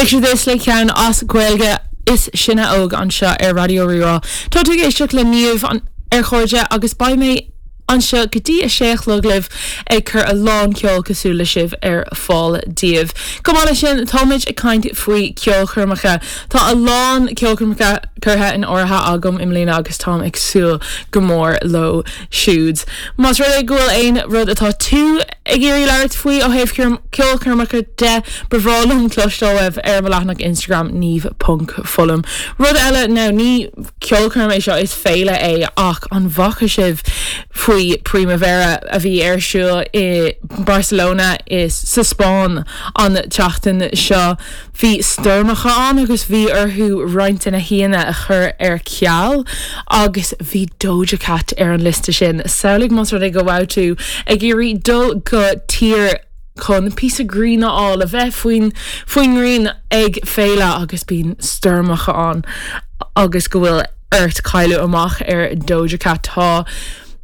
Picture This le ceann as Gaeilge is sinne óg anseo ar Raidió Rí-Rá. Tá tú ag éisteacht le Niamh ar Chairde agus beidh mé anseo go dtí a sé a chlog libh ag cur a lán ceoil cosúil le sibh ar fáil daoibh. Chomh maith leis sin, táimid ag caint faoi ceolchoirmeacha. Tá a lán ceolchoirmeacha curtha in áirithe agam i mbliana agus táim ag súil go mór leo siúd. Más rud é go bhfuil aon rud atá tú ag iarraidh labhairt faoi ó thaobh ceolchoirmeacha de, ba bhreá liom cloisteáil uaibh ar mo leathanach Instagram niamh.fullam. Rud eile, now ní ceolchoirm é seo, is féile é ach an bhfaca sibh faoi Primavera a bhí ar siúl i Barcelona i sa Spáinn an tseachtain seo? Bhí stoirmeacha ann agus bhí orthu roinnt de na haíonna a chur ar ceal agus bhí Doja Cat ar an liosta sin. Samhlaigh más rud é go raibh tú ag iarraidh dul go tír chun píosa grian a fháil, a bheith faoin faoin ngrian ag féile agus bíonn stoirmeacha ann agus go bhfuil ort cailleadh amach ar Doja Cat. Tá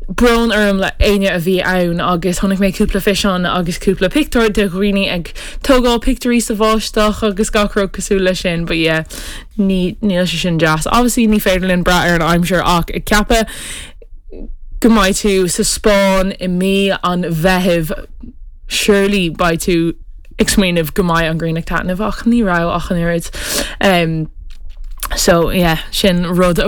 brón orm le éinne a bhí ann agus chonaic mé cúpla fiseán agus cúpla pictiúr de dhaoine ag tógáil pictiúirí sa bháisteach agus gach rud cosúil leis sin but yeah ní níl sé sin deas. Obviously ní féidir linn brath ar an aimsir ach ag ceapadh go mbeidh tú sa Spáinn i mí an Mheithimh surely beidh tú ag smaoineamh go mbeidh an ghrian ag taitneamh ach ní raibh ach an oiread. Um, so yeah, sin rud a.